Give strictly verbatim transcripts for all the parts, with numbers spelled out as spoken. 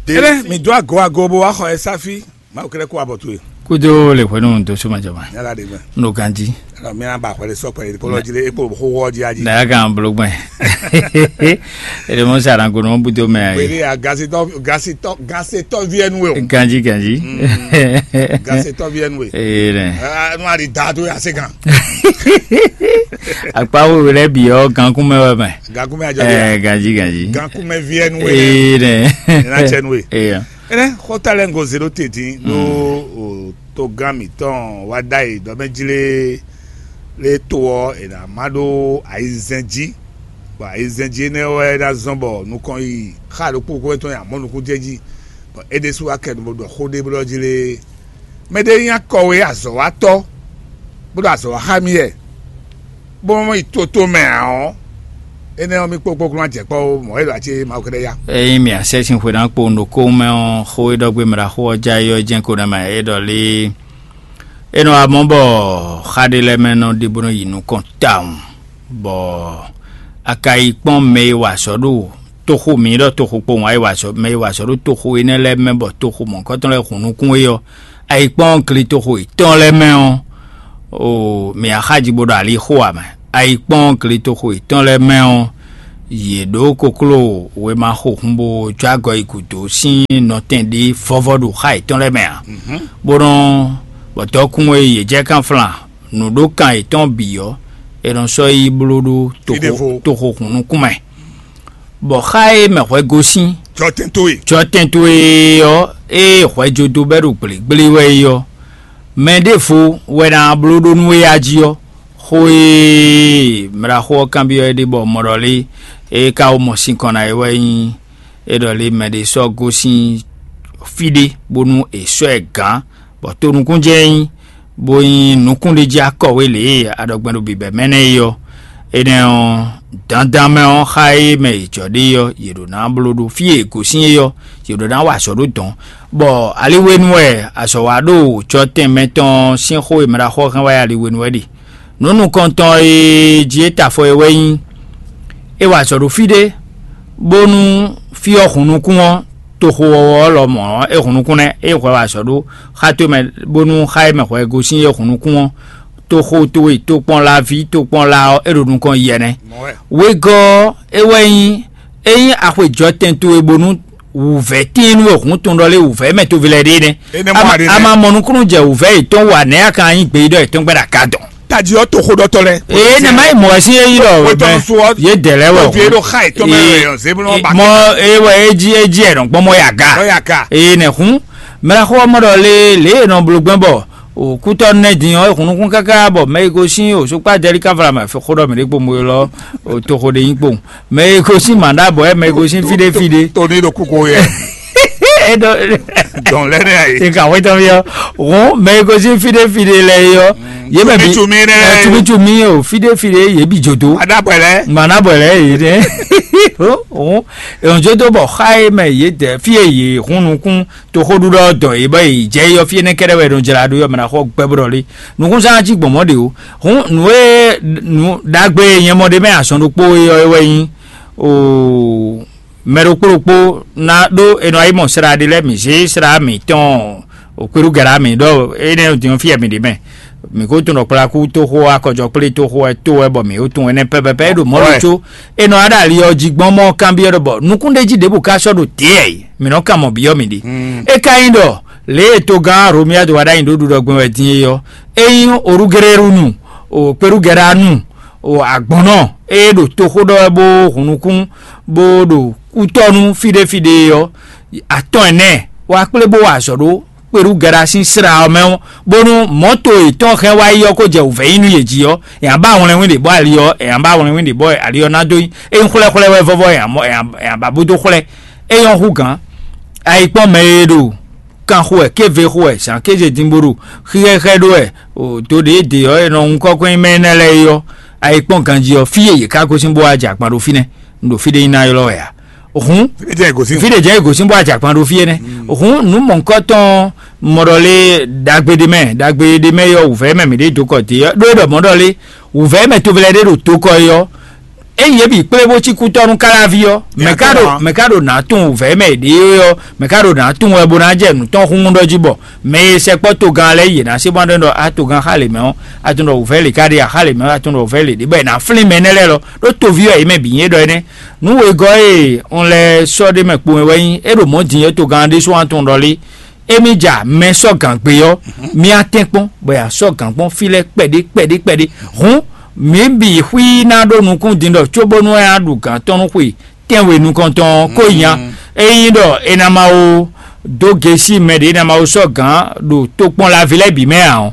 Ene mi dó ago ago bó wá xɔ ɛ sáfí. Mawu kɛlɛ kó abɔ towe. Kúdó le hwenu dó suma jama. Yàrá de gbẹ. N'o ganji. Alɔ mi ba xɔlɛ sɔ pɛ kpɔlɔ jí lé ekpo xó wɔ jí ají. Na kan bolo gbɛ. Ele mo sara ko no budo mɛ ayi. Pele a gasitɔ gasitɔ gasitɔ viɛnu we o. Ganji ganji. Gasitɔ viɛnu we. Ee ne. Anu ali da to ya se kan. Akpa wo lɛ bi ɔ gankun mɛ wɛ mɛ. Gankun mɛ ajɔ de. Ganji ganji. Gankun mɛ viɛnu we. Ee ne. Ina cɛnu we. Ee. Ene xɔta lɛ ngo zero te din ɖo o togán mǐtɔn wá ɖ'ayǐ ɖɔ mɛ jlé lé to ɔ́ è nǎ má ɖó ayizɛ́n jí, bɔ ayizɛ́n jí énɛ́ wɛ ná zɔ́n bɔ nukɔn yi xa ɖokpó kó tɔn nyi amɔ̌ nukún jɛ jí, bɔ é ɖésú wá kɛ nu bó ɖɔ xó ɖé blɔ́ jí lé. Mɛ ɖé nyí akɔwe azɔ̌watɔ́ bó ɖo azɔ̌ wa xá mì wɛ, bó mɔ yi toto mɛ ǎ ɔ́, énɛ́ ɔ́, mì kpókpókplɔ́n ajɛ̌kpɔ́ ó, mɔ̌ é ɖo acé Mawu kɛ́ɖɛ́ ya. Ényí mì asɛ́ sín xwe ná kpo ɖo kóhun mɛ ɔ́, xó e ɖɔ gbé mɛ ɖaxó ɔ́ já yi ɔ́ jɛ́n ko ná mɛ é ɖɔ lé. É nɔ wá mɔ bɔ xá ɖé lɛ́ɛ mɛ nɔ ɖe bó nɔ yi nukɔn tawun, bɔ a ka yi kpɔ́n mɛ e wa azɔ̌ ɖo toxo mǐ ɖɔ toxo kpowun a yi wa azɔ̌ mɛ e wa azɔ̌ ɖo toxo énɛ́ lɛ́ɛ mɛ bɔ toxo mɔ̌hunkɔtɔn lɛ́ɛ hun nukún é ɔ́, a yi kpɔ́n gletoxo yětɔn lɛ́ɛ mɛ ɔ́, o mǐ axáji bó ɖo ali xo ǎ mɛ. A yi kpɔ́n gletoxo yětɔn lɛ́ɛ mɛ ɔ́, yě ɖó kokló wěma xo hun bó jó agɔ yi gǔdo sín nɔtɛn ɖé vɔ́vɔ́ ɖo xá yětɔn lɛ́ɛ mɛ ǎ. Bó nɔ́ bɔ dɔkun e yě jɛ kánflán nǔɖokan yětɔn bǐ ɔ́, è nɔ sɔ́ yi bló ɖó toxo toxo hun nukún mɛ. Bɔ xá e mɛ hwɛ gosín Jɔtɛn towe. Jɔtɛn towe ɔ́, ée hwɛjodo bɛ́ ɖo gblégbléwɛ é ɔ́, mɛ ɖěvo wɛ ná bló ɖó nú éyá jí ɔ́. Xó e mlaxó ɔ́ kanbyɔ́ ɛ ɖe bɔ mɔɖɔlé e ka wó mɔ sinkɔn ná é wɛ nyí é ɖɔ lé mɛ ɖé sɔ́ gosín fí ɖé bónú è sɔ́ ɛ gǎn, bɔ tonukúnjɛ é nyí, bó nyí nukúnɖéjí akɔwé lě e a ɖɔ gbɛn ɖo bǐbɛ́mɛ nɛ́ é ɔ́. Énɛ́ ɔ́, dandan mɛ ɔ́, xá e mɛ è jɔ ɖe ɔ́, yě ɖo ná bló ɖó fí e è gosín é ɔ́, yě ɖo ná wa azɔ̌ ɖó dɔ̌n, bɔ ali hwenu wɛ azɔ̌ wa ɖo jɔtɛn mɛtɔn sín xó e mɛ ɖo axɔ hɛn wá ali hwenu wɛ ɖe. Nǔ nukɔntɔn e jí é ta afɔ é wɛ nyí: é wa azɔ̌ ɖo fí ɖé, bónú fí ɔ́ hun nukún ɔ́, toxo wɔwɔ ɔ́ lɔmɔ̌ ɔ́, é hun nukún nɛ́, é hwɛ wa azɔ̌ ɖó xá towe mɛ, bónú xá e mɛ hwɛ gosín é hun nukún ɔ́, toxo towe tokpɔnlaví tokpɔnla ɔ́, é ɖo nukɔn yi ɛnɛ. Wegɔ́ ɔ́, é wɛ nyí: ényí axwe jɔtɛn towe bónú wǔvɛ́ tíin nú we hǔn tɔn ɖɔ lé wǔvɛ́ mɛ toví lɛ́ɛ ɖe nɛ́. Énɛ́ mɔ a ɖe nɛ́. A ma mɔ nukúnnú jɛ wǔvɛ́ yětɔn wa nɛ̌ a ka nyí gbeyíɖɔ yětɔn gbɛ́ ɖo aga dɔn. Tají ɔ́ toxoɖɔtɔ́ lɛ́ɛ. Ee ne ma yi mɔ wɛ sín yé yi ɖɔ Wetɔnu so ɔ́, yě dɛ lɛ́ wɔ. Wetɔnu so ɔ́, ɖo xa yětɔn mɛ wɛ yɔ zebulɔn ba. Mɔ eye wɛ é jí é jí ɛ nɔ gbɔn mɔ ya ga. Lɔ ya ga. Eye nɛ hun mɛ xɔ mɔ ɖɔ lé lě e nɔ bló gbɛn bɔ o kútɔ nɛ din ɔ́, hun nukún káká bɔ mɛ yi gosín o sukpá dɛlí káfla mɛ xó ɖɔ mɛ ɖé kpombo lɔ o toxo ɖe nyí kpowun. Mɛ e gosín Mandabɔ wɛ, mɛ e gosín fíɖé fíɖé. Tó ní ɖo kúkú yɛ. Eɖɔ Dɔn lɛ nɛ ayi. Ika wetɔ mi ɔ. Hɔn mɛ e gosín fíɖé fíɖé lɛ yi ɔ. Yé mɛ bi Tumi tumi nɛ. Tumi tumi o fíɖé fíɖé yé bi jodo. Adabɔ lɛ. Mandabɔ lɛ yi nɛ. Hɔn èyàn jodo bɔ xa yé mɛ yé dɛ fí e yé hun nukún toxoɖuɖɔ dɔn yé bɔ yé jɛ yɔ fí enɛ kɛɖɛ wɛ ɖo jla ɖo yɔ mɛ na xɔ gbɛ bɔ ɖɔ lé. Nukún sán jí gbɔn mɔ ɖe o. Hɔn nù e nù ɖagbe nyɛ mɔ ɖe mɛ azɔn ɖokpó yɔ wɛ nyi o. Mɛ ɖokpó ɖokpó ná ɖó è nɔ yi mɔ sra ɖé lɛ́ɛ mǐ zé sra mǐtɔn o kpéɖú gɛ̌ mǐ ɖɔ énɛ́ din ɔ́ fí wɛ mǐ ɖe mɛ. Mǐ ko tunɔ kplakú tóxó akɔjɔkplé tóxó wɛ tó wɛ bɔ mǐ ko tunwun énɛ́ pɛ́pɛ́pɛ́ é ɖo mɔ̌ ɖo có é nɔ wá ɖo ali ɔ́ jí gbɔn mɔ kanbyɔ́ ɖɔ bɔ nukúnɖéjí ɖěbǔ ka sɔ́ ɖo tě wɛ mǐ nɔ kan mɔ byɔ́ mǐ ɖe. É ka nyí ɖɔ lě e togán Romiyadu wá ɖ'ayǐ ɖó ɖuɖɔ gbɛn wɛ din é ɔ́, é nyí Orúgerérúnu o kpéɖú gɛ̌ nu o agbɔ̌nnɔ e ɖo toxó ɖɔ wɛ bó hun nukún bó ɖo kútɔ́ nú fíɖéfíɖé ɔ́, atɔn ɛnɛ wá kplé bó wa azɔ̌ ɖó kpeɖú gɛɖa sín sra ɔ́ mɛ ɔ́, bónú mɔ̌to yětɔn hɛn wá yi ɔ́ kó jɛ wǔvɛ́ nyi nú yě jí ɔ́, è nǎ ba wlɛnwín ɖě bɔ ali ɔ́ è nǎ ba wlɛnwín ɖě bɔ ali ɔ́ ná dó nyí é nyí xwlɛ́xwlɛ́ wɛ vɔ́vɔ́ è nǎ ba bó dó xwlɛ́. É nyɔ́ hú gǎn. Ayikpɔ́n mɛ e ɖo kan xo wɛ, kéve xo wɛ, zǎn kéze din bo ɖo xíxɛ́xɛ́ ɖó wɛ, o do ɖě e dě ɔ́ è nɔ hun kɔ́kɔ́ nyi mɛ énɛ́ lɛ́ɛ é ɔ́, ayikpɔ́n ganjí ɔ́, fí e yě ká gosín bó wá jɛ akpan ɖó fínɛ́, un ɖo fí ɖé nyi ná ylɔ́ wɛ ǎ. Hǔn Fí ɖé jẹ́ ìgòsí. Fí ɖé jẹ́ ìgòsín bó wá jɛ akpan ɖó fí énɛ́. Hǔn nǔ mɔ̌hunkɔtɔn mɔɖɔ lé ɖagbe ɖé mɛ, ɖagbe ɖé mɛ yɔ wǔvɛ́ mɛ mǐ ɖé dó kɔ dě ɔ́, ɖó é ɖɔ mɔ̌ ɖɔ lé wǔvɛ́ mɛ tovelɛ ɖé ɖo dó kɔ é ɔ́, Ényí yě bǐ kplé bó cí kútɔ́ nú Káláví ɔ́, mɛ ka ɖo mɛ ka ɖo nǎ tunwun vɛ̌ mɛ ɖě ɔ́, mɛ ka ɖo nǎ tunwun wɛ bó ná jɛ nǔ tɔn xúnnu ɖɔ jí bɔ mɛ e sɛkpɔ́ togán lɛ́ɛ yě ná sé bó ná ɖɔ ɖɔ á togán xá lě mɛ ɔ́, a tunwun ɖɔ wǔvɛ́ lě ká ɖe a xá lě mɛ ɔ́, a tunwun ɖɔ wǔvɛ́ lě ɖě bɔ è nǎ flín mɛ énɛ́ lɛ́ɛ lɔ ɖó toví wɛ yě mɛ bǐ nyí é ɖɔ énɛ́. Nǔ wegɔ́ e un lɛ́ sɔ́ ɖ'é mɛ kpowun wɛ nyí é ɖo mɔ̌ din é togán ɖésú a tunwun ɖɔ lé. Émí ja mɛ sɔ́ gǎn gbé ɔ́, mì atɛ́n kpɔ́n bɔ è sɔ́ gǎn kpɔ́n fí lɛ́ɛ kpɛɖé kpɛɖé kpɛɖé. Hǔn mǐ bǐ xwí ná ɖó nukún din ɖɔ cóbónú é ná ɖu gǎn tɔn nú xwe tɛ́nwe nukɔntɔn ɔ́ kó nya. Ényí ɖɔ è nǎ ma wo dó gesi mɛ ɖě è nǎ ma wo sɔ́ gǎn ɖo tokpɔnlaví lɛ́ɛ bǐ mɛ ǎ ɔ́,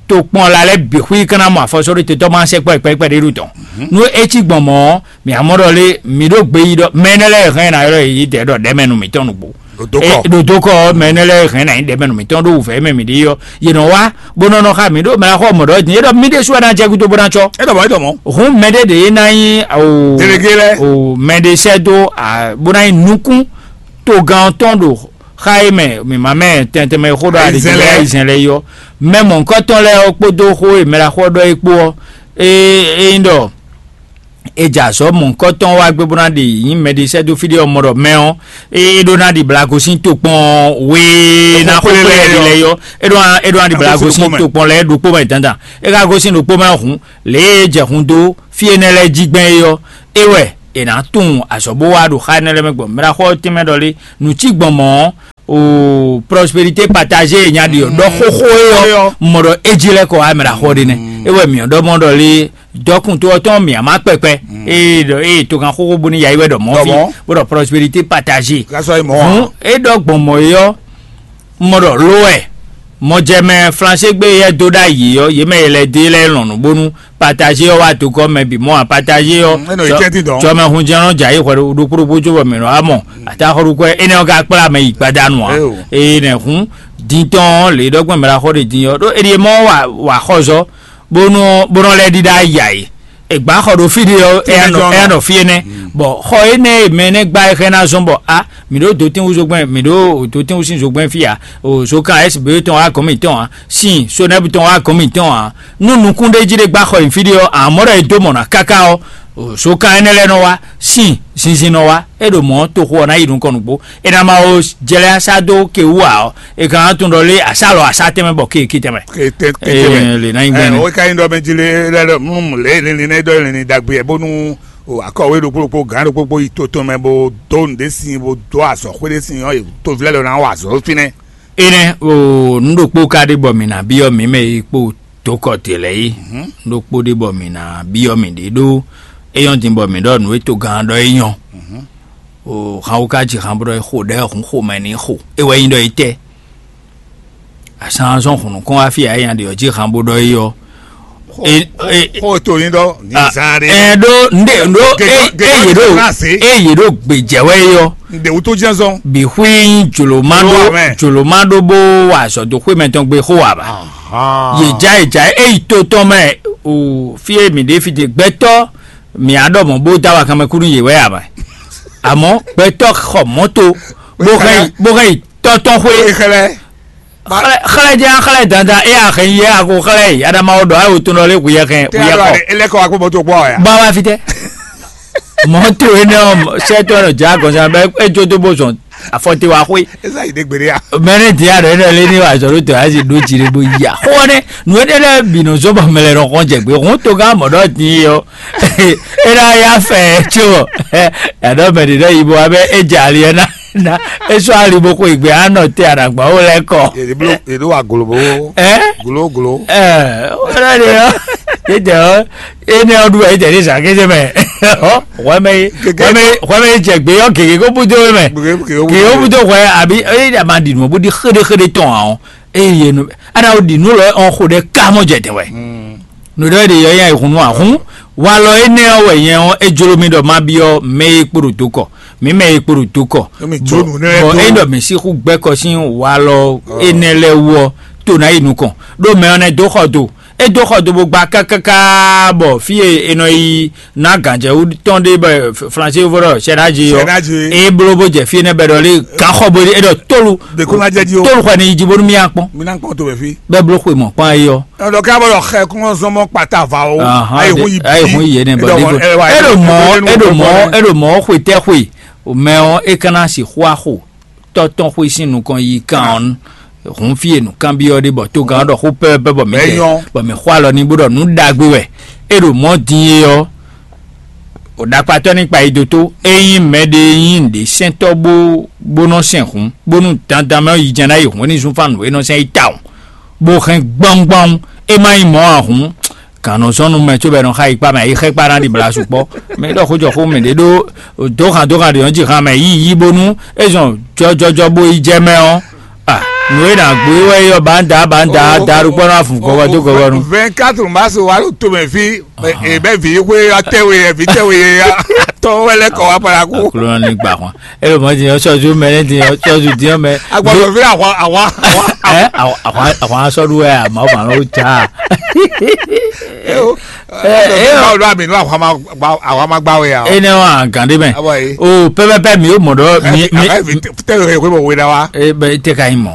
tokpɔnla lɛ́ɛ bǐ xwí ka ná mɔ afɔsɔ́ɖótetɔ́ ma sɛkpɔ́ kpɛɖé ɖu tɔn. Nú é cí gbɔn mɔ̌ ɔ́, mǐ amɔ́ ɖɔ lé mǐ ɖó gbeyíɖɔ mɛ énɛ́ lɛ́ɛ hɛn ná ylɔ́ yě yi dɛ̌ ɖɔ ɖɛ̌ mɛ nú mǐtɔn nǔgbó. Ɖo dǒ kɔ. Ɖo dó kɔ ɔ́, mɛ énɛ́ lɛ́ɛ hɛn ná nyí ɖɛ̌ mɛ nú mǐtɔn ɖó wǔvɛ́ mɛ mǐ ɖe ɔ́, yě nɔ wá bó nɔ nɔ xá mǐ ɖó mɛ xɔ mɔ̌ ɖɔ din é ɖɔ mí ɖésú wɛ ná jɛ gúdo bó ná cɔ́. É ɖɔ mɔ̌ é ɖɔ mɔ̌. Hǔn mɛ ɖé ɖě ná nyí o Délégué lɛ́ɛ. O mɛ ɖé sɛ́ dó a bó ná nyí nukún togán tɔn ɖo xá é mɛ mǐmá mɛ tɛntɛn mɛ xó ɖɔ Ayizɛn aligbɛ lɛ́ɛ. Ayizɛn lɛ́ɛ yɔ mɛ mɔ̌hunkɔtɔn lɛ́ɛ ɔ́ kpódó xó e mɛ ɖaxó ɔ́ ɖɔ é kpó ɔ́, é é nyí ɖɔ è jɛ azɔ̌ mɔ̌hunkɔtɔn wá gbé bó ná ɖi nyí mɛɖisɛ́dó fí ɖé ɔ́ mɔ ɖɔ mɛ ɔ́, é ɖó ná ɖi blago sín tokpɔn we ná xó kplé lɛ́ɛ yɔ é ɖó ná é ɖó ná ɖi blago sín tokpɔn lɛ́ɛ ɖokpó mɛ dandan. É ka gosín ɖokpó mɛ hǔn lě e jɛ hun dó fí énɛ́ lɛ́ɛ jí gbɛn é ɔ́, é wɛ è nǎ tunwun azɔ̌ bó wá ɖo xá énɛ́ lɛ́ɛ mɛ gbɔn mɛɖaxó ɔ́ tɛ́nmɛ ɖɔ lé nǔ cí gbɔn mɔ̌ ɔ́, o prospérité partagée nya ɖi ɔ ɖɔ xóxó é ɔ́ mɔ ɖɔ é jí lɛ́ kɔ wá mɛ ɖo axɔ ɖé nɛ́. É wɛ mǐ ɔ́ ɖɔ mɔ ɖɔ lé dɔkun tó ɔ́ tɔn mǐ á má kpɛkpɛ. Ée ɖɔ ée togan xóxó bónú yayi wɛ ɖɔ mɔ̌ fí bó ɖɔ prospérité partagée. Gásɔ é mɔ̌ ǎ. Hǔn é ɖɔ gbɔn mɔ̌ é ɔ́ mɔ ɖɔ lo wɛ mɔjɛmɛ flansé gbé yɛ dó ɖ'ayǐ ɔ́ yě mɛ e lɛ́ dó e lɛ́ lɔn nǔ bónú partagée ɔ́ wá dó gɔ́ mɛ bǐ mɔ ǎ. Partagée ɔ́ Mm, é nɔ yi tɛ́ntin dɔn. Jɔmɛhunjɛnɔ jɛ ayǐ hwɛ ɖokpó ɖokpó cóbɔ mɛ nɔ wá mɔ atáxɔɖukwɛ énɛ́ ɔ́ ka kplá mɛ yi gbadanu ǎ. Éyo. Eye nɛ hǔn din tɔn ɔ́ lě ɖɔgbɔn mɛ ɖaxɔ ɖe din ɔ́ ɖó eɖie mɔ wà wà xɔzɔ bónú bónú lɛ́ ɖíɖá yà yìí. Ègbá xɔ ɖo fí ɖé ɔ́ Fí ɖé éyá nɔ jɔ́n nɔ. Éyá nɔ fí énɛ́ bɔ xɔ énɛ́ e mɛ énɛ́ gbá é xɛ ná zɔn bɔ a mǐ ɖó dotínwú zogbɛn mǐ ɖó dotínwú sín zogbɛn fí a o zokan S B tɔn wá gɔ̌n mǐtɔn a sin sonɛ́bu tɔn wá gɔ̌n mǐtɔn a nú nukún ɖé jí ɖé gbá xɔ nyi fí ɖé ɔ́ amɔ̌ ɖɔ è dó mɔ̌ ná káká ɔ́ o zokan énɛ́ lɛ́ɛ nɔ wá sin zinzin nɔ wá é ɖo mɔ̌ toxo ɔ́ ná yi nukɔn nǔgbó è nǎ ma o jlɛ́ asá dó ke wú ǎ ɔ́ è ka ná tunwun ɖɔ lé asá lɔ asá tɛnmɛ bɔ ke ke tɛnmɛ. Ke tɛ- ke tɛnmɛ. Ee, lè ná nyi gbɛn. Ɛ, o ka nyi ɖɔ mɛ jí lé lɛ ɖɔ mú lě linlin nɛ ɖɔ linlin ɖagbe yɛ bónú o akɔwé ɖokpó ɖokpó gǎn ɖokpó ɖokpó yi to tɔn mɛ bó dó nǔ ɖé sin bó dó azɔ̌xwé ɖé sin ɔ́ yě to vlɛ́ lɔ ná wa azɔ̌ fínɛ́. Énɛ́ o nǔ ɖokpó ka ɖé bɔ mǐ ná byɔ́ mǐ mɛ e kpo dǒkɔ te lɛ́ɛ é. Nǔ ɖokpó ɖé bɔ mǐ ná byɔ́ mǐ ɖě ɖó é nyɔ́ din bɔ mǐ ɖɔ nǔ e togán ɔ́ ɖɔ é nyɔ́. O han wú ká ji han bó ɖɔ é xo ɖɛ̌ hǔn xomɛ ní xo é wɛ nyí ɖɔ é tɛ́. Azán zɔn hǔn nukɔn wá fí ǎ é nya ɖe ɔ́ jí han bó ɖɔ é ɔ́. Xó to ní ɖɔ ní zán ɖé. Ɛ ɖó ndé ɖó Gègé- gègé é yě ɖó ná zé. É yě ɖó gbèjɛ wɛ é ɔ́. Ndé wútó jẹ́ zɔn. Bixwí jòlómá Ló wà ɖó mẹ́. Jòlómá ɖó bó wà azɔ̌ dó xwé mɛtɔn gbé xó wà bá. Yè já yè já é yi to tɔn mɛ o fí é mǐ ɖé fi te gbɛtɔ́ mǐ á ɖɔ mɔ̌ bó dá wa kanmɛ kú nú yě wɛ ǎ mɛ. Àmọ́ gbɛtɔ́ xɔ mɔ̌to bó hɛn yi bó hɛn yi tɔ́tɔ́ xwé. Xlɛ. Xlɛ xlɛ jẹ́ xlɛ dandan é a hɛn yi é a ko xlɛ yi adama o ɖɔ ayi o tɔn lé hu yɛ hɛn hu yɛ kɔ. Ele kɔ wa kó mɔto kpɔ ya. Ba wa fi tɛ. Mɔto énɛ́ ɔ́ sɛtɔ nɔ dza gɔnsa bɛ edzó dó bó zɔn afɔte wa xwé. Eza yi de gbeɖe ya. Mɛnɛ di a ɖɔ énɛ́ lé ní wa zɔn ló tɔ ayi do dzi ɖe bó yi a xɔ nɛ nu énɛ́ lɛ bi nɔ zɔn bɔ mɛ lɛ nɔ xɔn jɛ gbé hun tó gán mɔ ɖɔ dín yɔ. Énɛ́ ya fɛ tso. Yàtọ̀ mɛ ɖi ɖɔ yìí bɔ abɛ édze ali ɛ ná. Na esɔ ali bó xo ìgbé anɔ tɛ àdàgbà ó lɛ kɔ. Yèdè blo yèdè wà gòlòbó. Ɛ gòlò gòlò. Ɛ ó lɛ de ɔ yédè ɔ énɛ ɔdún ɛ jẹ ní sàkéjì mɛ. Ɔ wẹmẹ wẹmẹ wẹmẹ jẹ gbé yọ gègé kó búdó mɛ. Gègé kó búdó wẹ àbí ɛ yà má dì nù bó di xéɖéxéɖé tɔn àwọn. Eye nu ana o ɖi nǔ lɔ ɔn xo ɖe ká mɔ jɛ dɛn wɛ. Nǔ ɖɔ ɖe yɔ yɛ hun nú ahun walɔ énɛ́ ɔ́ wɛ nyɛ ɔ́ é jló mì ɖɔ má byɔ́ mɛ e kpo ɖo do kɔ mǐ mɛ e kpo ɖo do kɔ. Bɔ é ɖɔ mǐ sixú gbɛ́ kɔ sín walɔ énɛ́ lɛ́ɛ wú ɔ́ to ná yi nukɔn ɖó mɛ ɔ́ nɛ́ dó xɔ do É dó xɔ do bó gba kákáká bɔ fí e è nɔ yi ná gǎnjɛwú tɔn ɖé bɔ Flansé vɔ ɖɔ sɛnáji ɔ́, é bló bó jɛ fí énɛ́ bɛ ɖɔ lé gǎnxɔ bó é ɖɔ tólu tólu xɔ ni yi jí bónú mí akpɔn. Bɛ bló xwe mɔ kpɔn ayi ɔ́. Ɛdɔ ká bɔ ɖɔ xɛ kún zɔn mɔ kpata va o. Ayi hun yi bi. Ayi hun yi yé ne bɔ ɖivo. É ɖo mɔ é ɖo mɔ é ɖo mɔ xwe tɛ xwe. Mɛ ɔ́ é kana si xó axo tɔ́ tɔn xwé sín nukɔn yi kan ɔ́, hun fí e nǔkanbyɔ́ ɖé bɔ tógán ɔ́ ɖɔ xó pɛ́pɛ́ bɔ mǐ jɛ bɔ mǐ xɔ alɔ n'i bó ɖɔ nǔ ɖagbe wɛ é ɖo mɔ̌ din é ɔ́, o ɖakpatɔ́ ní kpa yi dó tó. Ényí mɛɖé nyí nǔɖésɛntɔ́ bó bó nɔ sɛn hǔn, bónú dandan mɛ ɔ́ yi jɛ́n ná yi hǔn é ní zún fán nǔ e nɔ sɛn yi tawun, bó hɛn gbɔ́ngbɔ́n, é má nyí mɔ̌ ǎ hǔn, gǎn nɔ zɔ́n nú mɛ cóbɔ è nɔ xa yi kpá mɛ, yi xɛ́ kpá ná ɖi blasu kpɔ́. Mɛ ɖɔ xó jɔ xó mɛ ɖě ɖó dǒhan dǒhan ɖě nɔ ji han mɛ yí yí bónú é zɔn jɔjɔjɔ bó yi jɛ mɛ ɔ́. Ah, nǔ e nǎ gbé wɛ é ɔ́, bǎnda bǎnda da ɖo kpɔ́ ná fun gɔgɔ dó gɔgɔ nu. Vingt-quatre mars wa ɖo tomɛ fí. Ebe vi xwe atɛwe vi tɛwe ya tɔ wɛ lɛ kɔ wa para ko. Aklúnɔ ní gbà wọn. Ebe mɔ ti yọ sɔzu mɛ ní ti yọ sɔzu diɔ mɛ. Agbɔdɔ fi awa awa awa. Ɛ awa awa awa sɔdu wɛ a ma ma lɔ ja. Eo eo eo alo ami no awa ma gba awa ma gba wɛ a. Ene wa gande mɛ. Abo ye. O pɛpɛpɛ mi o mɔ dɔ mi mi. Tɛ o ye ko bɔ wɛ da wa. E bɛ te ka yi mɔ.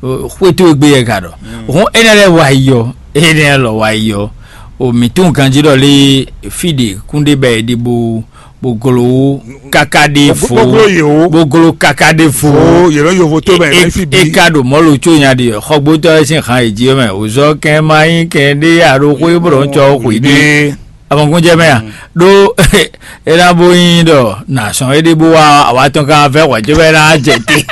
Xwetu egbe yɛ ka dɔ. Hɔn ene lɛ wa yi yɔ. Ene lɛ lɔ wa yi yɔ. O mǐ tunwun ganjí ɖɔ lé fí ɖě kúnɖé bɛ è ɖi bó bó gló káká ɖé fó, bó gló kaka ɖé fó. Yě nɔ yovo tó mɛ é fi bí. É ka ɖo mɔ̌ lo có nya ɖi xɔgbótɔ́ ɛ sín han è jí mɛ òzɔ kɛn ma nyí kɛn ɖé aɖó xwé bó nɔ cɔ xwé ɖé. Amɔkúnjɛ mɛ a ɖó é ná bó nyí ɖɔ nà sɔn é ɖé bó wá àwa tɔn kan fẹ́ xɔjó bɛ ná jɛ té.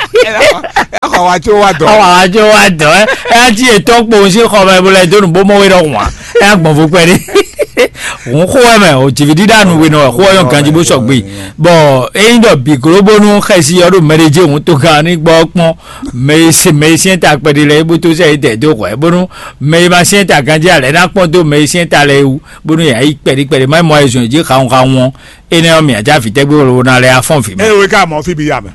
Xɔ wa tso wa dɔ. Xɔ wa tso wa dɔ ɛ ɛ ti etɔn kpo si xɔ mɛ bo lɛ do nu bo mɔ we ɖɔ hwan ɛ agbɔn vo kpɛ ɖe. Hun xo wɛ mɛ o jivi ɖiɖa nu we nɔ xo yɔ ganji bo sɔgbe. Bɔn eyin dɔ bi globonu xɛsi yɔ ɖo mɛɖe je hun to gan ni gbɔ kpɔn mɛ e se mɛ e siɛn ta kpɛɖi lɛ e bo to sɛ e dɛ do hwɛ bonu mɛ e ma siɛn ta ganji alɛ na kpɔn do mɛ e siɛn ta lɛ wu bonu yɛ ayi kpɛɖi kpɛɖi ma mɔ ayizɔn ji xawun xawun ɔ. Enɛ ɔ mì adza vǐ tɛgbɛ wolo na lɛ afɔn vǐ mɛ. Eye wo ka mɔ fí bi ya mɛ.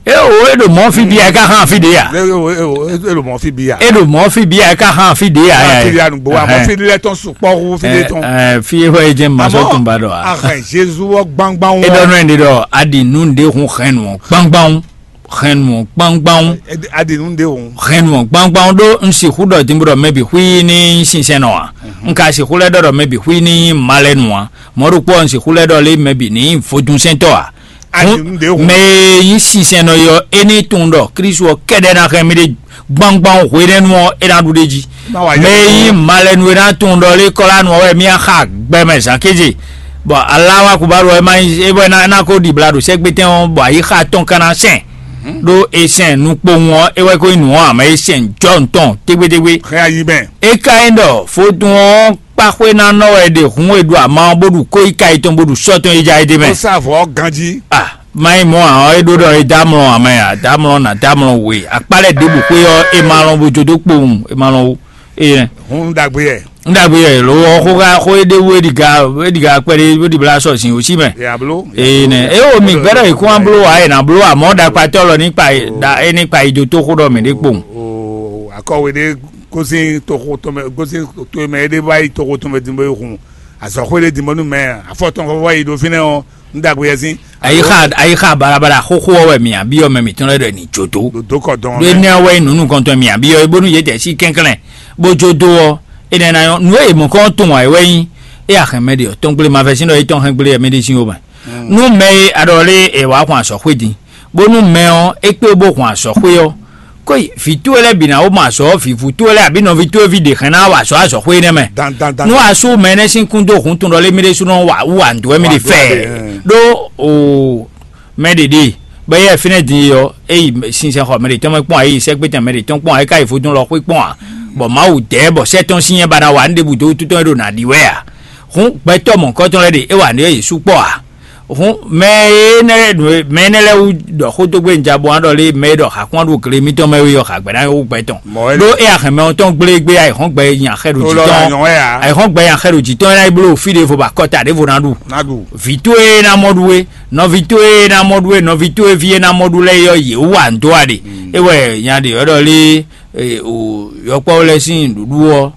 E o e ɖo mɔ fí bi ya e ka hàn fí ɖe ya. E o e o e ɖo mɔ fí bi ya. E ɖo mɔ fí bi ya e ka hàn fí ɖe ya. Hàn fí ya nugbo wa mɔ fí lɛ tɔn sukpɔ hu fí lɛ tɔn. Ɛ fi e hɔ e jɛ ma sɔ tun ba dɔ a. Ahɛn Jezu wɔ gbangban wɔ. E dɔ nɔ yin de dɔ a ɖi nu ɖe hun hɛn nu gbangban hɛn nu gbangban. A ɖi nu ɖe hun. Hɛn nu gbangban ɖo n si hu dɔ dimbo dɔ mɛ bi hui ni sinsɛn nɔ a. N ka si hu lɛ dɔ dɔ mɛ bi hui ni ma lɛ nu a. Mɔɖokpɔ un sixú lɛ́ ɖɔ lé mɛ bǐ ní nyí vodúnsɛntɔ́ ǎ. Mɛ e nyí sinsɛnnɔ é ɔ́, é ní tunwun ɖɔ Klísu ɔ́ kɛ́ɖɛ́ ná hɛn mì ɖe gbangban hwenɛ́nu ɔ́, é ná ɖu ɖ'é jí. Mɛ e nyí malɛnu é ná tunwun ɖɔ lé kɔ́lánu ɔ́ wɛ mì ná xa gbɛ mɛ zǎn kéze, bɔ aláwa kubaɖu ɔ́ é má nyí é bɔ é ná ko ɖibla ɖo sɛ́gbétɛn ɔ́, bɔ ayixa tɔn ka ná sɛn ɖó è sɛn nukpowun ɔ́, é wɛ ko nyí nǔ ɔ́ ǎ, mɛ e sɛn jɔ́ tɔn tégbétégbé. É ka nyí ɖɔ vodún ɔ́ kpáxwénánɔ wɛ è ɖe hǔn e ɖu ama ɔ́ bó ɖu kóyíká yětɔn bó ɖu sɔ́ tɔn e ja é ɖ'é mɛ. Ó sá vɔ̌ ganjí. A má nyí mɔ̌ ǎ ɔ́, é ɖó ɖɔ é dó amlɔ ǎ mɛ ǎ, dó amlɔ nǎ dó amlɔ we. Akpá lɛ́ɛ ɖěbǔ xwé ɔ́, è ma lɔn bó jó dó kpowun, è ma lɔn ó. Énɛ́. Hǔn ɖagbe yɛ. Ń ɖagbe yɛ ló ɔ́ xó xó é ɖé wú é ɖiga é ɖiga kpɛɖé bó ɖibla sɔ sin òsí mɛ. Yàbló. Énɛ́. É wo mì gbɛ́ɖɔ yě kún wá bló wǎ è nǎ bló amɔ̌ ɖakpatɔ́ lɔ ní kpa é ní kpa yi dó tó xó ɖɔ mǐ ɖé kpowun. Akɔwe ɖé gosín toxo tɔn mɛ gosín to e mɛ é ɖe wá yi toxo tɔn mɛ din bó yi hun azɔxwé ɖé din bɔ nú mɛ afɔ tɔn xɔxɔ yi ɖo fínɛ́ ɔ́. Ń dagbe yɛ sín. Ayixa ayixa balabala xóxó ɔ́ wɛ mǐ abyɔ́ mɛ mǐtɔn lɛ́ɛ ɖɔ è nǐ jó dó. Dó kɔ dɔn ɖó mɛ. Énɛ́ ɔ́ wɛ nyí nǔ nukɔntɔn mǐ abyɔ́ é bónú yě tɛ sí kɛnklɛ́n bó jó dó ɔ́. Énɛ́ ná nyɔ́ nǔ e mɔ̌kɔn tɔn wǎ é wɛ nyí. É axɛn mɛ ɖe ɔ́ tɔn gblé ma vɛ́ sín ɖɔ é tɔn hɛn gblé mɛ ɖé sín ó mɛ. Nú mɛ e a ɖɔ lé è wǎ xwan azɔ̌xwé din, bónú mɛ ɔ́ é kpé bó hun azɔ̌xwé ɔ́, kó yi vǐ towe lɛ́ɛ bǐ ná wó mɔ azɔ̌, vǐvú towe lɛ́ɛ abǐ nɔví towe ví ɖě hɛn ná wa azɔ̌ azɔ̌xwé énɛ́ mɛ. Nú asú mɛ énɛ́ sín kún dó hun tun ɖɔ lé mì ɖésúnɔ wa wú wa nǔ dó wɛ mì ɖe fɛ. Ɖó o mɛ ɖě ɖe bɔ éyɛ́ fínɛ́ din e ɔ́, é yi sinsɛnxɔ mɛ ɖě tɔn mɛ kpɔ́n ǎ, é yi sɛ́gbétɛn mɛ ɖě tɔn kpɔ́n ǎ, é ka yi vodún lɔ xwé kpɔ́n ǎ, bɔ Mawu dɛ̌ bɔ sɛ́ tɔn sín nyɛ ba ná wa nǔ ɖěbǔ dó wútu tɔn e ɖo nǎ ɖi wɛ ǎ. Hǔn gbɛtɔ́ mɔ̌hunkɔtɔn lɛ́ɛ ɖe é wa nǔ e yě sukpɔ́ ǎ. Hǔn mɛ énɛ́ lɛ́ɛ ɖo mɛ énɛ́ lɛ́ɛ wú ɖɔ xó dó gbé un ja bo wá ɖɔ lé mɛ e ɖɔ xakwán ɖo gle mitɔn mɛ wé ɔ́, xagbɛ ná nyɔ́ wú gbɛ tɔn. Ɖó é axɛn mɛ tɔn gblé gbé ayǐhɔ́ngbe nyi axɛ ɖo jǐ tɔn. Ayǐhɔ́ngbe nyi axɛ ɖo jǐ tɔn é ná yi bló fí ɖěvo bɔ akɔta ɖěvo ná ɖu. Vǐ towe ná mɔ ɖu é, nɔví towe ná mɔ ɖu é, nɔví towe ví é ná mɔ ɖu lɛ́ɛ é ɔ́, yě wú wa nǔ dó wa ɖe. É wɛ nya ɖě ɔ́ ɖɔ lé yɔkpɔ́ lɛ́ɛ sín nǔɖuɖu ɔ́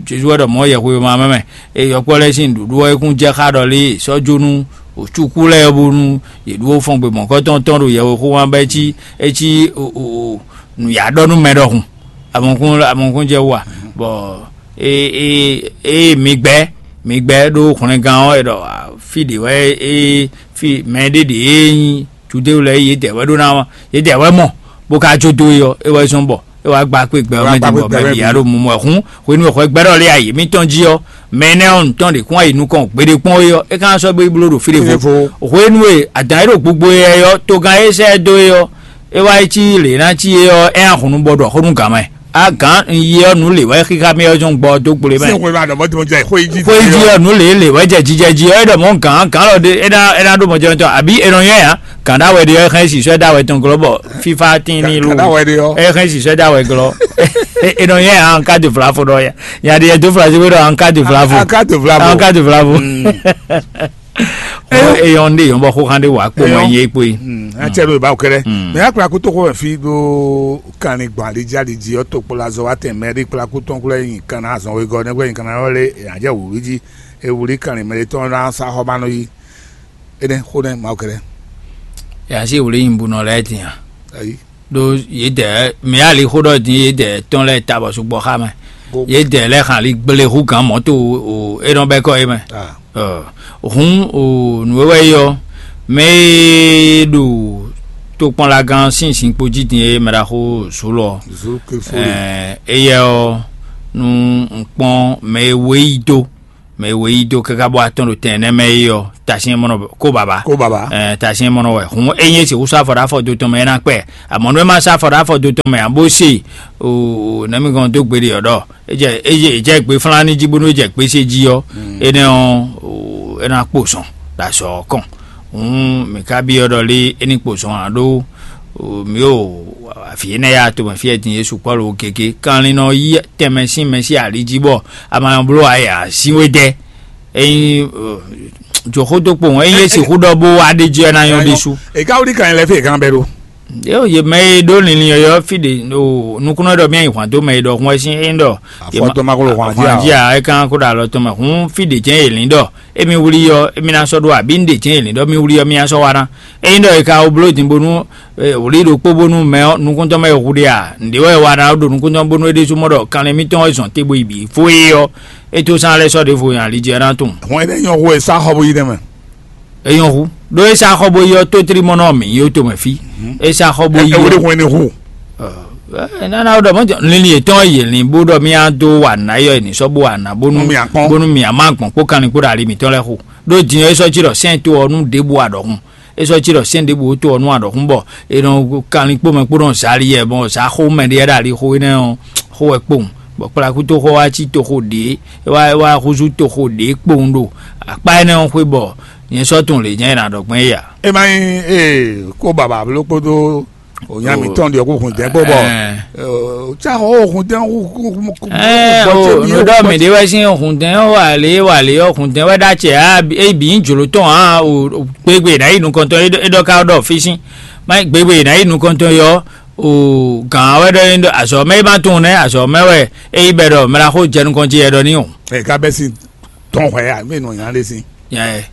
Jezu wɛ ɖɔ mɔ̌ yɛhweyoma mɛ mɛ. Eye yɔkpɔ́ lɛ́ɛ sín nǔɖuɖu ɔ́, é kún jɛ xá ɖɔ lé sɔ́ jó nú wǒcúkú lɛ́ɛ bónú yě ɖú fɔ́ngbemɔ̌kɔ́tɔn tɔn ɖo yɛhwexó wán bɔ é cí é cí nǔyá ɖɔ nú mɛ ɖɔhun. Amɔkún amɔkún jɛ wú a? Bɔ ée mi gbɛ́ mi gbɛ́ ɖó hwlɛngán ɔ́, è ɖɔ fí ɖě wɛ é fí mɛ ɖé ɖě e nyí Judée lɛ́ɛ yědɛɛ wɛ ɖó ná yědɛɛ wɛ mɔ, bó ka jó dó é ɔ́, é wɛ zɔ́n bɔ é wá gba kpé gbɛ ɔ́ mɛ din bɔ mɛ bǐ ya ɖo mumɔ ɛ. Hǔn hwenu e hwɛgbɛ́ɖɔ lɛ́ɛ yi mǐtɔn jí ɔ́, mɛ énɛ́ ɔ́ nǔtɔn ɖě kún wá yi nukɔn gbeɖé kpɔ́n é ɔ́, é ka ná sɔ́ gbé yi bló ɖo fí ɖěvo. Hwenu e adǎn e ɖo gbogbo éyɛ́ ɔ́, togán e sɛ́ ɛ dó é ɔ́, é wá yi cí lě ná cí é ɔ́, é ná hun nú bɔ ɖɔ xó nú gǎn mɛ. Á gǎn un yi ɔ́, nǔ lě wɛ xixa mì ɔ́ zɔn gbɔ dó gblé mɛ. Xwé jí ɔ́, nǔ lě lě wɛ jɛ jijɛ jí ɔ́, é ɖɔ mɔ̌ gǎn gǎn lɔ ɖé é ná é ná ɖó mɔjɛmɛtɔ́, àbí è nɔ nyɔ́ ɛ ǎ? Gǎn ɖá wɛ ɖe ɔ́, é hɛn sisɔ dá wɛ tɔn glɔ́ bɔ fífá tín ní lú. Gǎn ɖá wɛ ɖe ɔ́. É hɛn sisɔ dá wɛ glɔ́. È nɔ nyɔ́ ɛ ǎ, un ka dó vlavo ɖɔ ya. Nya ɖe yɛ dó vlavo ɖɔ un ka dó vlavo. Un ka dó vlavo. Un ka dó vlavo. Eyɔn ɖe yɔn bɔ xóxán ɖé wà kpó mɔ nyɛ kpó yi. Atsɛ ɖo ìbáwò kɛlɛ. Mɛ akpla kútó xó wɛ fí ɖó kanlin gbɔn alijí alijí ɔ́, tokpɔlazɔ wa tɛn mɛ ɖé kpla kútɔn kúlɛ nyi kanna azɔn wegɔ́ nɛgbɛ nyi kanna ɔ́ lé yǎjɛ wǔwú jí. E wlí kanlin mɛ ɖé tɔn ná sá xɔ ma nɔ yí. Énɛ́ xó nɛ́ Mawu kɛlɛ. Yǎ sí wlí nyibúnɔ lɛ́ɛ din a? Ayi. Ɖó yědɛɛ mǐ alixó ɖɔ din yědɛɛ tɔn lɛ́ɛ ta bɔ sukpɔ́ xá mɛ. Yědɛɛ lɛ́ɛ xan ali gble hú gǎn mɔ̌ to o é nɔ bɛ́ kɔ é mɛ. Hǔn o nǔ e wɛ é ɔ́, mɛ e ɖo tokpɔnlagán sín zinkpo jí din é mɛ ɖaxó Zulu ɔ́. Éyɛ́ ɔ́, nú un kpɔ́n mɛ e wé yí dó mɛ e wé yí dó káká bɔ atɔ́n ɖo tɛn nɛ́ mɛ é ɔ́, tasyɛn mɔnɔ kó baba. Kó baba. Ɛɛ tasyɛn mɔnɔ wɛ. Hǔn é nyí sixú sɔ́ afɔ ɖó afɔ do tɔn mɛ é ná kpɛ. Amɔ̌ nú é má sɔ́ afɔ ɖó afɔ do tɔn mɛ ǎ bó se o nɛmí gɔn dó gbeɖe ɔ́ ɖɔ é jɛ é jɛ é jɛ gbe flán ní jí bónú é jɛ gbésé jí ɔ́, énɛ́ ɔ́ é ná kpo zɔn ɖo azɔ̌ ɔ́ kɔn. Hǔn mǐ ka byɔ́ ɖɔ lé é ní kpo zɔn ǎ ɖó mǐ ɖo avǐ énɛ́ ya tomɛ fí e din Jezu Pɔ́lu gěgé kanlin nɔ yí tɛnmɛ sín mɛ sín ali jí bɔ a ma nɔ bló ayǎ sín we dɛ. Ényí joxó dó kpowun ényí é sixú ɖɔ bó wá ɖ'é jí ɔ́ ná nyɔ́ ɖésú. È ka wlí kan lɛ́ɛ fí è gán bɛ́ ɖó. Yě mɛ e ɖó linlin yɔyɔ́ fí ɖě nukúnnɔ ɖɔ mì nyi hwǎn dó mɛ e ɖɔhun wɛ sín é ɖɔ afɔtɔmaxolo hwǎn jí a é kán kó ɖo alɔ tɔn mɛ hǔn fí ɖě jɛ́n è lǐn ɖɔ émí wlí ɔ́ émí ná sɔ́ ɖó abǐ un ɖě jɛ́n è lǐn ɖɔ mì wlí ɔ́ mì ná sɔ́ wá ná. Ényí ɖɔ è ka wó bló din bónú wlǐ ɖokpó bónú mɛ ɔ́ nukúntɔ́ mɛ e hu ɖe a nǔɖé wɛ è wa ná ɖo nukúntɔ́ bónú é ɖésú mɔ ɖɔ kanlin mítɔn wɛ zɔn te bo yi bǐ fó é ɔ́, é tó sán lɛ́ sɔ́ ɖěvo nyi ali jí ɔ́ ná tunwun. Hɔn énɛ́ nyɔ́ hú e sá xɔ bó yi nɛ́ mɛ. É nyɔ́ hú ɖó é sá xɔ bó yi ɔ́ tótlímɔ́nɔ mǐ nyí ó tomɛ fí. É sá xɔ bó yi ɔ́. Ewúrẹ́ hun ẹni hu. Nana ɖɔ mɔ̌ linlin yětɔn yě lin bó ɖɔ mía dó wa nǎ yɔ è nǐ sɔ́ bó wa nǎ bónú bónú mǐ má gbɔn kpó kanlin kpó ɖo ali mǐtɔn lɛ́ɛ xo. Ɖó din ɔ́ é sɔ́ cí ɖɔ sɛ́n to ɔ́ nú ɖěbǔ aɖɔ̌hun. É sɔ́ cí ɖɔ sɛ́n ɖěbǔ tó ɔ́ nú aɖɔ̌hun bɔ è nɔ kanlin kpó mɛ kpó nɔ zali yɛ bɔ zǎ xó mɛ ɖé ɖo ali xó énɛ́ ɔ́ xó wɛ kpowun. Bɔ kplakútoxó wá cí toxo ɖě é wá é wá húzú toxo ɖě kpowun ɖo akpá énɛ́ ɔ́ xwé bɔ nyɛ sɔ́ tunwun lě nyɛ è nǎ ɖɔ gbɔn é ǎ. É má nyí ee kó baba bló kpódó ònyà mǐtɔn ɖi ɔkú hùn dɛn kpó bɔ. Tsá xɔ ó hùn dɛn hú hú hú hú. Nǔɖɔ mǐ ɖé wɛ sín hùn dɛn wà lě wà lě ɔ́ hùn dɛn wɛ ɖó acɛ á é bǐ nyí jlǒ tɔn ǎ o. Gbégbé ná yi nukɔntɔn é ɖɔ ká ɖɔ fí sín má gbégbé ná yi nukɔntɔn yɔ o gǎn wɛ ɖɔ é ɖɔ azɔ̌ mɛ é má tunwun nɛ́ azɔ̌ mɛ wɛ é yi bɛ ɖɔ mɛ ná xó jɛ nukɔn jí yɛ ɖɔ ní o. Ɛ ká bɛ sín tɔn hwɛ ya mí nɔ nya ɖé sín. Yɛ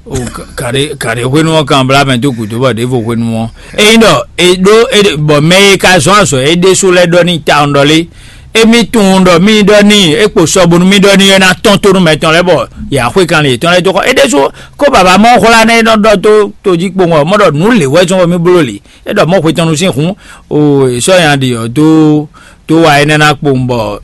o kàɖé kàɖé hwenu ɔ́ kan bla mɛ dó gǔdo bɔ ɖěvo hwenu ɔ́. Ényí ɖɔ è ɖó bɔ mɛ e ka zɔn azɔ é ɖésú lɛ́ɛ ɖɔ ní ta ɔ́ ɖɔ lé. Émí tunwun ɖɔ mí ɖɔ ní é kpo sɔ bónú mí ɖɔ ní é ná tɔn tónú mɛtɔn lɛ́ɛ bɔ yǎ xwé kanlin yětɔn lɛ́ɛ dó xɔ é ɖésú kó baba mɔ hwlá nɛ́ é nɔ ɖɔ tó tó jí kpowun ɔ́ mɔ ɖɔ nǔ lě wɛ zɔn bɔ mí bló lě. É ɖɔ mɔ hwetɔnnu sín hun o è sɔ́ nya ɖi ɔ́ dó tó wa énɛ́ ná kpowun bɔ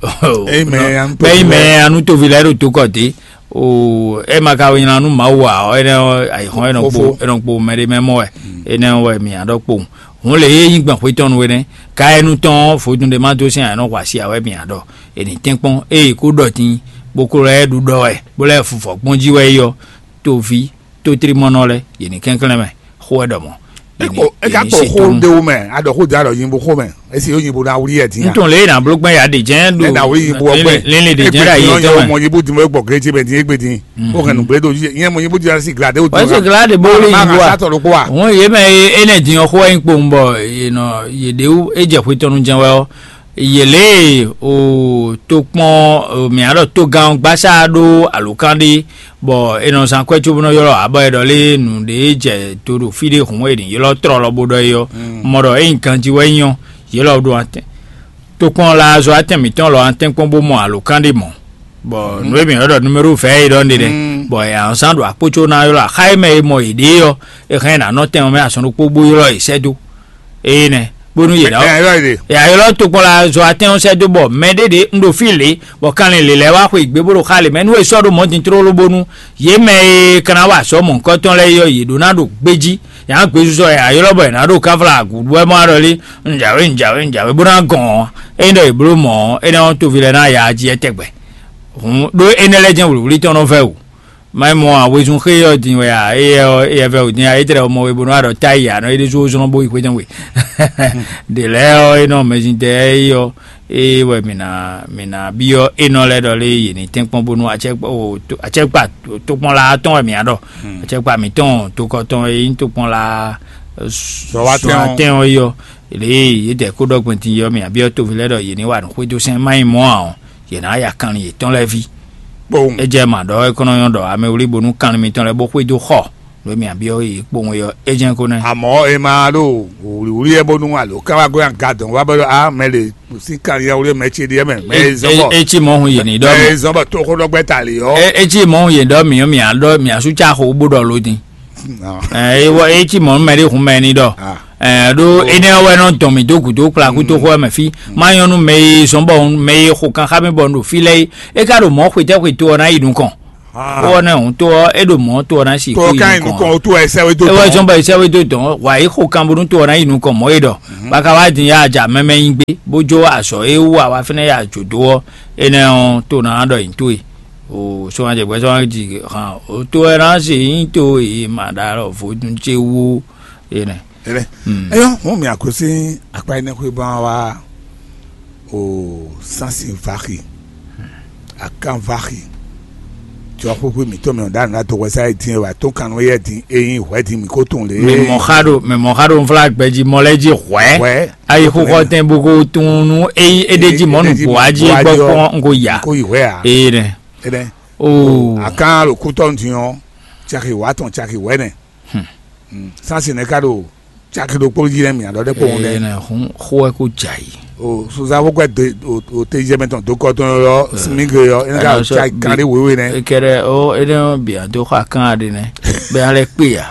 bɛ́ nyí mɛ anu toví lɛ́ɛ ɖo tó kɔ dé. O é ma ka nylá nú Mawu ǎ ɔ́, énɛ́ ɔ́ ayǐhɔ́n é nɔ kpo é nɔ kpo mɛ ɖé mɛ mɔ wɛ. Énɛ́ ɔ́ wɛ mǐ ná ɖɔ kpowun. Hǔn lě e nyí gbɔn xwetɔ́nu énɛ́, ka é nú tɔn ɔ́ vodún ɖé má dó sín ayǐ nɔ hu así ǎ wɛ mǐ ná ɖɔ. È nǐ tɛ́nkpɔ́n ée kó ɖɔ din bó ko lɛ́ ɖu ɖɔ wɛ bó lɛ́ fufɔ kpɔ́n jí wɛ é ɔ́, toví tótlímɔ́nɔ lɛ́ɛ yě ní kɛnklɛ́n mɛ xó wɛ ɖɔ mɔ̌. É ka kpɔ xó ɖéwú mɛ aɖɔ xó dě aɖɔ nyibu xó mɛ esi yóò nyibu ná wlí yɛ dín. Ntɔn lé na bló gbɛn ya ɖe jɛn ɖo ná wlí nyibu ɔgbɛ. Lele ɖe jɛn ɖe ayi jɛn mɛ. Mɔ nyibu dìmɔ egbɔ grédzi mɛ dín égbé dín. Ó hɛn nǔgbé ɖo yɛ mɔ nyibu dìmɔ si glade ó dìmɔ. Wọ́n sì gíláàdì bó lé yìí wá. Má sátọ̀ ló kó wa. Wọ́n yé mɛ é nɛ dín ɔ́ xó wá yín kpowun bɔ yé nɔ yé ɖéwú é jɛ xwetɔnu jɛn wɛ ɔ́. yě lě e o tokpɔn mǐa ɖɔ togán gbasá ɖó alǒkan ɖé, bɔ è nɔ zán kwɛ́ cóbó nɔ ylɔ́ abɔ è ɖɔ lé nǔɖé jɛ do ɖo fí ɖé hǔn è nǐ ylɔ́ tlɔlɔ bó ɖɔ é ɔ́, mɔ ɖɔ ényí ganjí wɛ nyí ɔ́, yě lɔ ɖo atɛn tokpɔn la azɔ atɛn mǐtɔn lɔ atɛn kpɔ́n bó mɔ alǒkan ɖé mɔ̌. Bɔ nǔ e mǐ ylɔ́ ɖɔ numéro vɛ̌ é ɖɔ nɖé nɛ́, bɔ è nǎ zán ɖo akpó có ná ylɔ́ axá e mɛ e mɔ yěɖée ɔ́, è hɛn ná nɔ tɛn ɔ́ mɛ azɔn ɖokpó bó ylɔ́ yě sɛ́ dó. Ée nɛ́, bónú yě ná ɛ ɛ ɛ ɛ. Yě ná ylɔ́ tokpɔnla zɔ atɛ́n ɔ́ sɛ́ dó bɔ mɛ ɖé ɖě un ɖo fí lě, bɔ kanlin lě lɛ́ɛ wá xwe gbé bó ɖo xá lě mɛ nú è sɔ́ ɖó mɔ̌ din tlóló bónú yě mɛ e ka ná wa azɔ̌ mɔ̌hunkɔtɔn lɛ́ɛ é ɔ́, yě ɖó ná ɖo gbéjí. Yě ná gbézúzɔ yě ná ylɔ́ bɔ yě ná ɖo káfla agǔɖú wɛ mɔ aɖɔlí, un jǎwe un jǎwe un jǎwe bó ná gɔn ɔ́, ényí ɖɔ yě bló mɔ̌ ɔ́, énɛ́ ɔ́ toví lɛ́ɛ ná ya jí ɛtɛgbɛ. Hǔn ɖó énɛ́ lɛ́ɛ jɛ́n wlǐwlí tɔn nɔ vɛ́ wǔ. Má yi mɔ ǎ, wezun xé ɔ́ din wɛ ǎ, éyɛ́ ɔ́, éyɛ́ vɛ́ wǔ din ǎ, é tlɛ mɔ we bónú a ɖɔ táyi ǎ nɔ é ɖésú ó zlɔ́n bó yi xwé tɔn we. Ɖě lɛ́ɛ ɔ́, é nɔ mɛzin tɛ é ɔ́, é wɛ mǐ ná mǐ ná byɔ́ énɔ lɛ́ɛ ɖɔ lé yě ní tɛ́nkpɔ́n bónú acɛkpa tokpɔnla tɔn wɛ mǐ á ɖɔ. Acɛkpa mǐtɔn tokɔ tɔn e nyí tokpɔnla zɔwatɛn ɔ́ é ɔ́, lě e yě dɛ kó ɖɔ gbɛn din é ɔ́, mǐ á byɔ́ toví lɛ́ɛ ɖɔ yě ní wa nǔ xwedó sɛn má nyí mɔ̌ ǎ ɔ́, yě ná ya kanlin yětɔn lɛ́ɛ ví. Kpowun. É jɛ mǎ ɖɔ é kɔn nɔ nyɔ́ ɖɔ amɛ wlí bónú kanlin mitɔn lɛ́ɛ bó xwedó xɔ nú e mǐ byɔ́ yě kpowun é ɔ́, é jɛ́n ko nɛ́. Àmọ́ è ma ɖo wǔlíwúlí ɛ bónú alo ká wá gɔ́ nya gadɔn wá bɔ ɖɔ a mɛ le sín kanlin wúlí mɛ ce ɖíe mɛ mɛ e zɔn bɔ É cí mɔ̌ hun yě ní ɖɔ mɛ e zɔn bɔ tóxóɖɔgbɛ́ ta lě ɔ́. É cí mɔ̌ hun yě ɖɔ mǐ mǐ á ɖɔ mǐ á sú cá xo bó ɖɔ ló din. Ɛ é wɔ é cí mɔ̌ nú mɛ ɖé hun mɛ ní ɖɔ. Ɛ ɖó énɛ́ ɔ́ wɛ nɔ dɔn mǐ dó gǔdo kplakútoxo ɔ́ mɛ fí. Má nyɔ́ nú mɛ e zɔ́n bɔ mɛ e xo kan xá mì bɔ un ɖo fí lɛ́ɛ é, é ka ɖo mɔ̌ xwetɛ́xwe to ɔ́ ná yi nukɔn. Xó ɔ́ nɛ́ hǔn to ɔ́ é ɖo mɔ̌ to ɔ́ ná si xó yi nukɔn. Tó ká nyi nukɔn ó tó wɛ sɛ́wé dó tɔn. É wɛ zɔ́n bɔ è sɛ́wé dó dɔn wǎ yi xo kan bónú to ɔ́ ná yi nukɔn mɔ̌ é ɖɔ. Bá ka wá din yá aja mɛmɛ nyi gbé bó jó azɔ̌ e wú a wá fínɛ́ ya jǒ dó ɔ́, énɛ́ ɔ́ to ná ɖɔ nyi towe. O sɔ́njɛgbɛ́ sɔ́nji hàn ó tó wɛ ná se nyí to e ma ɖo alɔ vodún ce wú énɛ́. Ɛnɛ. Eyɔ, mo mì akwesí akpa énɛ́ xwé bá wa o sansi vaxi, akan vaxi. Jɔ xwéxwé mǐtɔn mɛ ɔ́ ɖo àná dó hwɛsá e dín e wà tó kan nú éyɛ́ dín e nyí hwɛ̌ dín mǐ kó tunwun lě. Mɛ mɔ̌ xa ɖo mɛ mɔ̌ xa ɖo nflá gbɛjí mɔ lɛ́ɛ jí hwɛ̌. Hwɛ̌. Ayi xó xɔ tɛn bó ko tunwun nú é nyí é ɖé jí mɔ̌ nǔgbó wá jí é gbɔ kpɔ́n un ko ya. Kó yi hwɛ̌ ǎ. Ee nɛ. Énɛ́. Oo. Akan ɖo kútɔ́ din ɔ́, caki wǎ tɔn caki wɛ̌nɛ. Sansi nɛ́ ka ɖo caki ɖokpó jí nɛ́ mǐ aɖɔ ɖé kpowun nɛ́. Ena hun xó wɛ kó dza yi. O suzafo kɔ de o o te jɛ mɛ tɔn dokɔ tɔn yɔ simi ke yɔ ena ka o ca kan ɖe wewe nɛ. Ekɛrɛ o ene bia do xɔ akan ɖe nɛ bɛ alɛ kpe ya.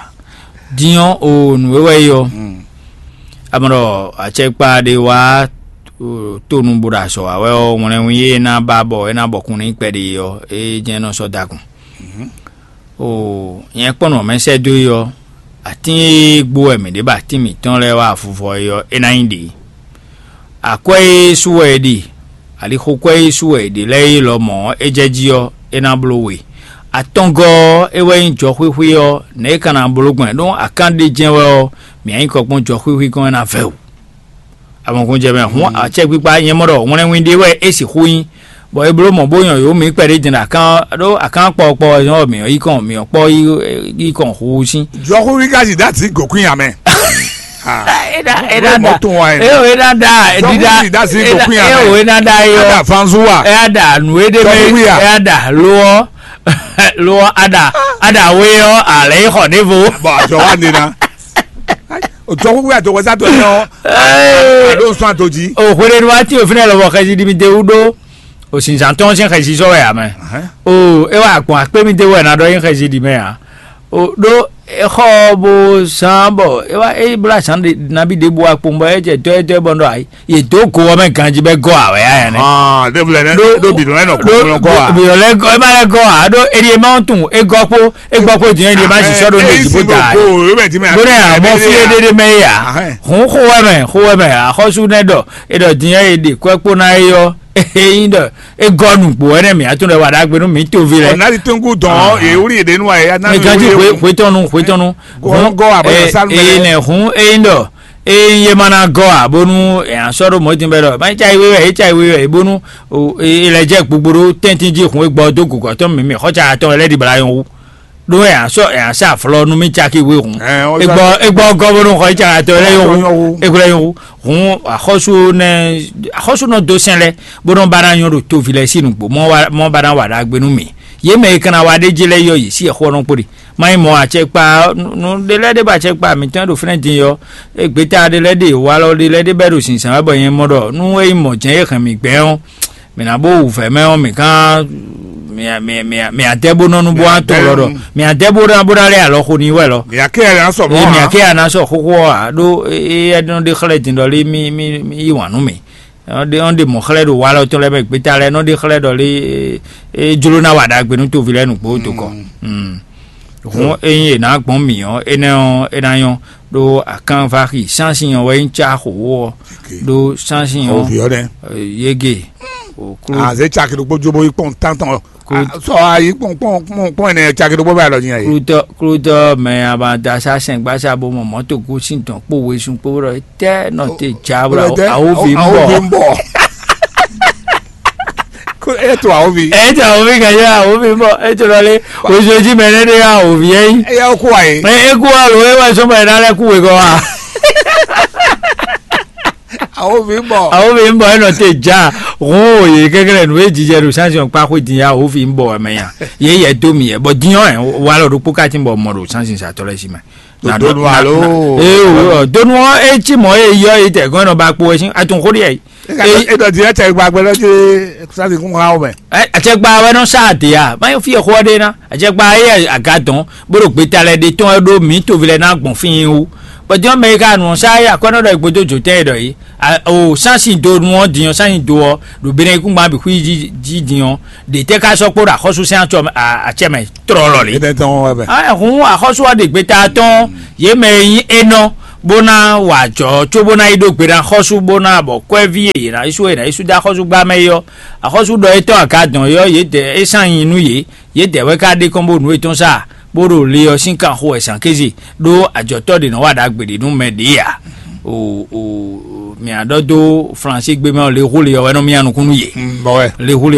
Dinyɔ o nǔ e wɛ yɔ. Amrɔ atsɛkpa ɖe wá tonu bo ɖo azɔ wa wɛ ɔ ŋlɛnwin e ná ba bɔ e ná bɔkun ní kpɛɖe ɔ e jɛn nɔ sɔ dakun. O nyɛ kpɔ́n nɔ mɛ sɛ́ dó é ɔ́, atín e gbó wɛ mǐ ɖe bɔ atín mǐtɔn lɛ́ɛ wá avuvɔ é ɔ́, é ná nyí ɖě. Akwɛ́ e sú wɛ è ɖe, alixokwɛ́ e sú wɛ è ɖe lɛ́ɛ é lɔmɔ̌ ɔ́, é jɛ jí ɔ́, é ná bló we. Atɔngɔ́ ɔ́, é wɛ nyí jɔxwíxwí ɔ́, nɛ̌ é ka ná bló gbɔn ɖó akán ɖé jɛ́n wɛ ɔ́, mǐ nyí kɔ kpɔ́n jɔxwíxwí gɔ́n é ná vɛ́ wǔ. Amɔ̌kúnjɛ mɛ hǔn acɛkpikpa nyɛ mɔ ɖɔ hwlɛnwin ɖé wɛ é sixú nyí, bɔ é bló mɔ̌ bó nyɔ yǒ mǐ kpɛɖé din ɖo akán ɖó akán kpɔkpɔ ɔ́ nyɔ́ mǐ yí kɔn mǐ kpɔ́ yí kɔn hu sín. Jɔxúxú ka zi dó así gǒkún nya mɛ. Éɖa éɖa da éo éɖa da éɖida éo éɖa da éo ada fanzu wa éɖa da nù éɖe mɛ éɖa da lo ɔ lo ɔ ada ada we ɔ alɛ yi xɔ ɖevo. Bɔn àjọ wa nena. Jɔxúxú ya dɔgɔza dɔ yɔ. Alo sɔn ato jí. O hwele nu wa ti o fínɛ lɔbɔ xɛsi ɖi mi de wú ɖó. O sinzan tɔn sín xɛsi sɔ wɛ amɛ. O e wa gbɔn akpé mi de wɛ na ɖɔ yín xɛsi ɖi mɛ a. O ɖó exɔ bo zan bɔ e wa e bla zan nabi ɖe bo akpɔn bɔ e jɛ dɔ e dɔ e bɔ ɖɔ ayi. Ye dó go ɔ́ mɛ ganjí bɛ gɔ́ ǎ wɛ yá yɛn nɛ. Ɖébù lɛ nɛ ɖó bìnú lɛ nɔ kó kó gɔ́ ǎ. Bìnú lɛ gɔ́ ɛ má lɛ gɔ́ ǎ ɖó eɖi e má tunwun é gɔ́ kpó é gbɔ kpó din é ɖi e má si sɔ́ ɖó ní èjì bó da ɛ. Bó nɛ àmọ́ fí é ɖéɖé mɛ é yá. Hǔn xó wɛ mɛ xó wɛ mɛ axɔ́sú nɛ ɖɔ é ɖɔ din é ɖe kwɛ́ kpó ná é yɔ é nyí ɖɔ é gɔ́ nǔgbó wɛ nɛ mǐ atún ɖɔ wà ɖagbe nú mǐ toví lɛ. Ọ̀nà ti tó ń kú dán ewúrẹ́ yìí dénú àyè. Mɛ ganjí hwetɔnu hwetɔnu. Gɔ́ gɔ́ àbọ̀dọ̀ sálú mẹ́lẹ́. Èyí nɛ hún é nyí ɖɔ eye ma ná gɔ́ ǎ bónú è nǎ sɔ́ ɖó mɔ̌ din bɛ́ ɖɔ má yi cayi wé wɛ é cayi wé wɛ é bónú è lɛ́ jɛ gbogbo ɖó tɛ́ntin jí hun e gbɔ dó gǔgɔ́ tɔn mǐmí xɔ́ ca tɔn lɛ́ ɖibla nyɔ́ wú. ɖó ɛ asɔ ɛ asɔ aflɔ nú mi caki wé hun. Ɛ, ɔ, egbɔ egbɔ gɔbɔnú xɔ itsaka tɔ lɛ yɔn hu. Egbɔ lɛ yɔn hu. Hun axɔsu nɛ axɔsu nɔ do sɛn lɛ bó nɔ ba na nyɔ ɖo tovi lɛ sí nugbo mɔ wa mɔ ba na wa ɖagbe nú mi. Yě mɛ e kana wa ɖé dzi lɛ yɔ yě sí ɛxɔ nɔ kpó ɖi. Má nyí mɔ atsɛkpa nu ɖé lɛ́ ɖé ba atsɛkpa mǐtɔn ɖo fínɛ́ din yɔ. Egbeta ɖé lɛ́ ɖe walɔ ɖé lɛ́ ɖé bɛ ɖo zǐnzán wɛ bɔ nyɛ mɔ ɖɔ nú é nyí mɔ̌ jɛ́n é hɛn mǐ gbɛn ɔ́, mǐ ná bó wǔvɛ́ mɛ ɔ́, mǐ gán mǐ adɛ́ bó nɔ nu bó wá tɔn lɔ ɖɔ mǐ adɛ́ bó ná bó ná lɛ́ alɔ xo n'i wɛ lɔ. Mǐ akɛ yɛ ná sɔ mɔ Ee, mǐ ǎ. Akɛ yɛ ná sɔ xóxó ɔ́ ǎ ɖó é é nɔ ɖe xlɛ́ din ɖɔ lé mí mí mí yí wǎn nú mǐ. Ɔ́ ɖe ɔ́ ɖe mɔ̌ xlɛ́ ɖo walɔ tɔn lɛ́ɛ mɛ gbeta lɛ́ɛ nɔ ɖe xlɛ́ ɖɔ lé é jló ná wa ɖagbe nú toví lɛ́ɛ nǔgbó dó kɔ. Hǔn ényí è nǎ gbɔn mǐ ɔ́, énɛ́ ɔ́ é ná nyɔ́ ɖó akánvaxi sánsin ɔ́ wɛ nyí cá xǒxó ɔ́ ɖó sánsin ɔ́ Òvì ɔ́ nɛ́. Yége. Àzé caki ɖokpó jó bó yi kpɔn tántɔn. Sɔ ayi kpɔn kpɔn kpɔn kpɔn ɛnɛ caki ɖokpó bá lɔ nyi ayi. Klutɔ klutɔ mɛ abada sa sɛn gbasa bo mɔ mɔto gosín tɔn kpó wesun kpó ɖɔ tɛ nɔ te dza bla awo vi ń bɔ. Eto awo vi. Eto awo vi gɛdɛ awo vi ń bɔ eto lɔ lé ojoji mɛ ne ɖe awo vi yɛ yi. Eya ko ayi. Mɛ eku alo ewa sɔmɔ yɛ n'alɛ ku wegɔ wa. Awo vi ń bɔ. Awo vi ń bɔ enɔ te dza. Hun o ye kɛkɛ nu e jijɛ ɖo sansi kpa xwe din ya awo vi ń bɔ ɛmɛ ya. Ye yɛ do mi yɛ bɔ dinyɔ ɛ wa lɔ ɖokpo ka ti bɔ mɔ ɖo sansi satɔ lɛ si mɛ. Donu alo. Ee o donu ɔ e ti mɔ e yɔ e tɛ gɔn nɔ ba kpo ɛ si atun xo de yɛ. Edɔ di ɛtɛ gbagbɛ lɔ ti sansi kun ha o mɛ. Ɛ atsɛgba wɛ nɔ sa de ya ma fi xɔ de na atsɛgba ye aga dɔn bó ɖo gbeta lɛ de tɔn ɖo mi tovi lɛ na gbɔn fi wú. Bɔn dinyɔ mɛ yi ka nɔ sa ye akɔnɔ ɖɔ gbodo jo tɛ ɖɔ yi. O sansi do nu ɔ dinyɔ sansi do ɔ ɖo bene kungba bi xui ji ji dinyɔ de tɛ ka sɔ kpo ɖo axɔsu sɛn atsɔ atsɛ mɛ trɔ lɔ li. Etɛ tɔn wɛ bɛ. Hun axɔsu ɔ ɖe gbeta tɔn ye mɛ yi enɔ bó ná wà jɔ có bó ná yi ɖó gbe ná xɔsu bó ná bɔ kɔɛví e yě ná yi sú e ná yi sú dó axɔsu gbá mɛ yi ɔ. Axɔsu ɖɔ etɔn aga dɔn yi ɔ yě dɛ é sán nyi nú yě. Yědɛɛ wɛ ka ɖe kɔn bó nǔ yětɔn sa bó ɖo le ɔ́ sín kan xo wɛ zǎn kéze ɖó ajɔ̌tɔ́ ɖě nɔ wa ɖagbe ɖě nú mɛ ɖě ǎ. O o mǐ á ɖɔ dó Flansígbe mɛ ɔ́, lexó le ɔ́ wɛ nɔ mía nukún nú yě. Lexó le